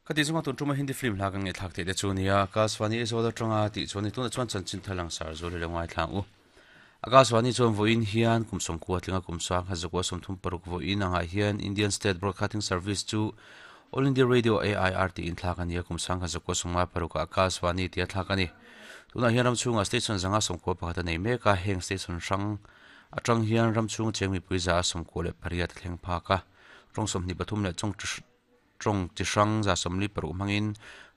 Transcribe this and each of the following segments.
Khati chunga tun tuma Hindi film hla kan ngaihthlak theih te chu nia, Akashvani Aizawl atanga tih chuan ni tunah chuan chanchin thar langsar zual hi lo ngaithlang u. Akashvani chuan vawiin hian kum sawmkua tlinga kum sang khat zakua 36 vawiin angah hian Indian State Broadcasting Service chu All India Radio AIR tiin thlak a ni a, kum sang khat zakua 56 ah Akashvani tia thlak a ni. Tunah hian ram chhungah station zanga 91 a nei mek a, heng station hrang atang hian ram chhunga cheng mipui za a 98 a thleng phak a, rawng 23 leh chawng Tawng chi hrang 46 hmangin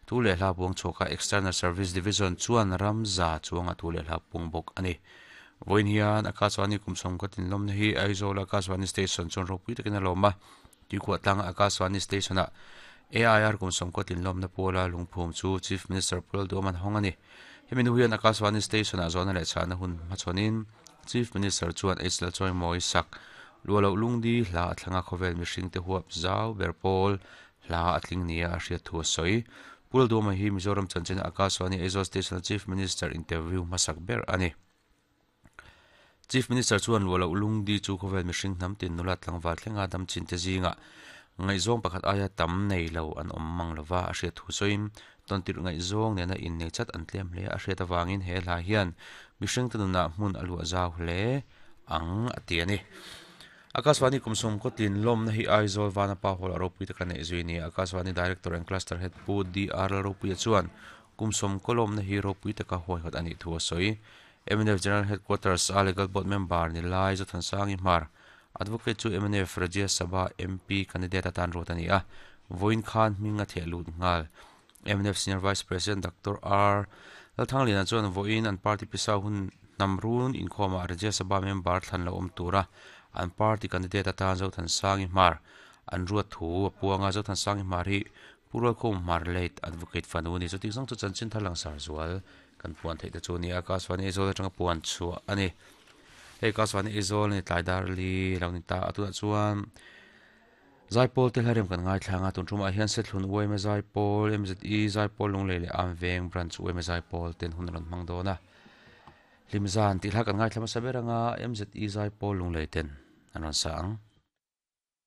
thu leh hla puang chhuak a, External Service Division chuan ram za chuanga thu leh hla puang bawk a ni. Vawiin hian Akashvani kum sawm ka tinlawmna hi Aizawl Akashvani Station chuan ropui takin a lawm a, Tuikhuah tlanga Akashvani Station-ah AIR kum sawm ka tinlawmna puala lungphum chu Chief Minister Pu Lalduhawm an hawng a ni. Hemi hnu hian Akashvani Station-ah zawhna leh chhahna hun hmachhawnin Chief Minister chuan H Lalchawimawi sak Luahloh lungdi hla a thlanga khawvel mihringte huap zau ber pawl hla a tling nia a hriat thu a sawi. Pu Lalduhawma hi Mizoram chanchina Akashvani Aizawl Station-a Chief Minister interview hmasak ber a ni. Chief Minister chuan Luahloh lungdi chu khawvel mihring hnam tin nula tlangval thlenga dam chinte zingah ngaihzawng pakhat aia tam nei lo an awm mang lova a hriat thu sawiin Tawntirh ngaihzawng nena innei chat an tlem hle a hriat avangin he hla hian mihringte nunah hmun a luah zau hle ang a ti a ni. Akashvani kum sawm kawtlin lawmna hi Aizawl Vanapa Hall a ropui taka neih zui a ni. Akashvani Director and Cluster Head Pu DR Lalropuia chuan kum sawm kaw lawmna hi ropui taka huaihawt a nih thu a sawi. Mnf General Headquarters a Legal Board Member ni lai Zothansangi Hmar Advocate chu mnf Rajya Sabha MP candidate atan ruat a ni a, vawiin khan hming a theh lut nghal. Mnf Senior Vice President Doctor R. Lalthangliana chuan vawiin an party pisa hun hnam run inkhawmah Rajya Sabha member thlan lo awm tura an party candidate atan Zothansangi Hmar an ruat thu a puang a, Zothansangi Hmar hi Pu Rualkhum Hmar late Advocate fanu a ni. Chuti zawng chu chanchin thar langsar zual kan puan theih te chu a ni a, Akashvani Aizawl atanga puan chhuah a ni. Hei ka chuan Aizawl a ni tlai dar li lo ni ta a tunah chuan Zaipawl te hlarem kan ngaithlang a tun tumah hian Sethlun UMA Zaipawl MZE Zaipawl Lunglei leh Amveng Branch UMA Zaipawl ten hun a rawn hmang dawn a Hlimzan tih hla kan ngaithla hmasa ber anga MZE Zaipawl Lunglei ten an rawn sa ang.